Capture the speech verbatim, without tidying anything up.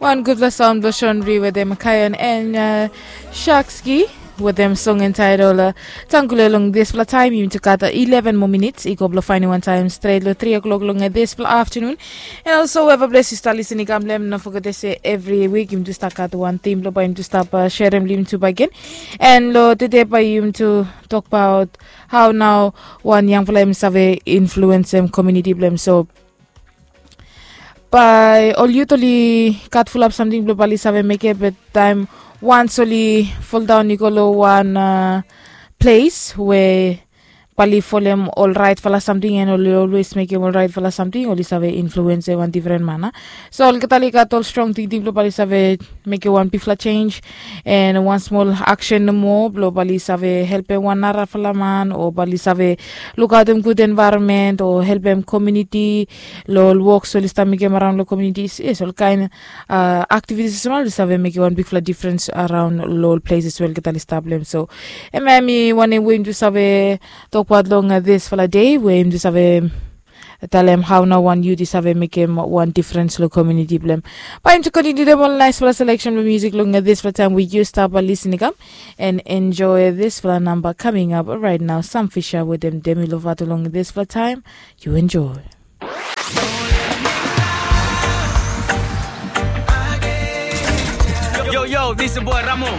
Wan gudfala saun blong Shonri wetem Kayon en Shakski wetem song entaitol Tangule. Long dispela taim yumi tu gat ileven moa minits i go blong fainim wantaim stret long tri o'klok long dispela aftanun. En olso weva ples yu stap lisin i kam long em, no foget ese evri wik yumi tu stap gat wan tim blong bai yumi tu stap sherim long yumi tu bagen. En long tude bai yumi tu tokbaot hau nau wan yangfala em i save influensim komuniti blong em. So bai ol yut oli gat fulap samting blong bai oli save mekem, be taim wans oli foldaon i go long wan ples we bai oli folem ol raitfala samting en oli olwes mekem ol raitfala samting, oli save influensim wan difren man. So olgeta oli gat ol strong tingting blong bai oli save mekem wan bigfala sens en wan smol aksen nomo blong bai oli save helpim wan narafala man o bai oli save lukaotim gud envaeronmen o helpim komuniti long ol wok oli stap mekem araun long komuniti. Yes, olkain aktivitis olsem oli save mekem wan bigfala difrens araun long ol ples we olgeta oli stap long em. So em ya mi wanem we yumi tu save tokbaot long dispela de we yumi tu save talem hau nau wan yut i save mekem wan difrens long komuniti blong em. Bai yumi tu kontiniutim ol naispela seleksen blong musik long dispela taim we yu stap lisin i kam, and enjoy dispela namba coming up right now. Sam Fisher wetem Demi Lovato long dispela taim. Yu enjoy. Yo, yo, this is boy Ramo.